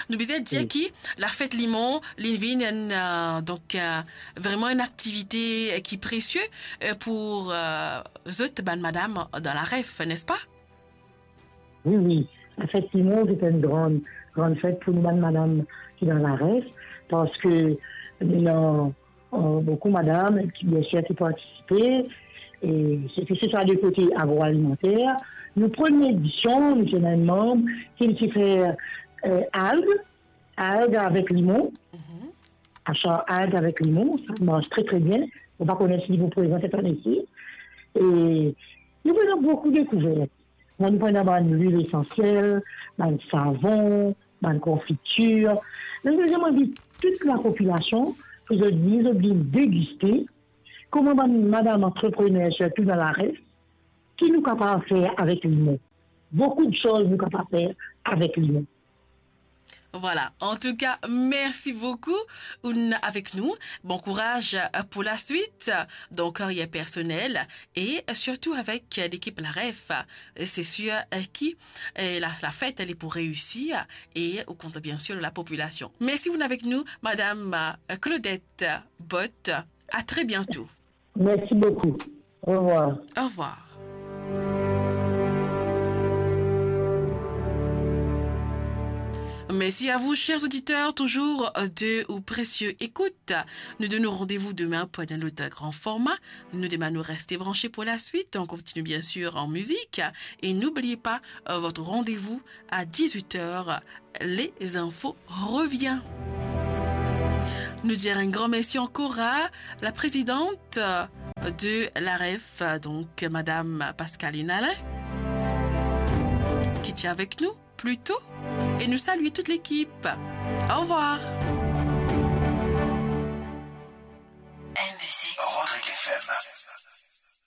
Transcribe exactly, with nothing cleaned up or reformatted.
Nou bizin dir ki lafet limon, li vinn enn, euh, donk, euh, vreman enn aktivite, euh, ki presie, euh, pou, euh, zot bann madam dan Laref, n'est-ce pas? Wi, wi. Lafet limon, se enn gran, gran fet pou nou bann madam ki dan Laref, parski nou ena, euh, boukou madam ki, biensir, ki partisipe, e se ki se swa de kote agroalimenter. Nou premie edision, nou ti ena enn manb ki ti fer, euh, alg, alg avek limon. Mhm. Aster alg avek limon, sa mars tre, tre bien. Mo pa kone si li pou prezan set ane isi. E nou fer boukou dekouvert. Nou pran bann lwil esansiel, bann savon, bann konfitir. Nou bizin anvi tou lapopilasion pou zot vini, zot vini degiste kouma bann madam antreprener, sirtou dan Laref, ki nou kapav fer avek limon. Boukou de soz nou kapav fer avek limon. Voilà. En tout cas, merci beaucoup, ou'nn avek nou. Bon courage, euh, pour la suite, dans carrière personnelle et surtout avec, euh, l'équipe Laref. Euh, c'est sûr, euh, ki, euh, la, lafet, li pou reisir e ou kont bien sûr la population. Merci, ou'nn avek nou, Madame, euh, Claudette Bott. À très bientôt. Merci beaucoup. Au revoir. Au revoir. Merci à vous, chers auditeurs, toujours de ou précieux écoute. Nous donnons rendez-vous demain pour un autre grand format. Nous demandons de rester branchés pour la suite. On continue bien sûr en musique. Et n'oubliez pas, euh, votre rendez-vous à dix-huit heures. Les infos revient. Nous dire un grand merci encore à la présidente de l'A R F, donc Madame Pascaline Alain, qui était avec nous plus tôt. Et nous saluer toute l'équipe. Au revoir. Rodrigue F M.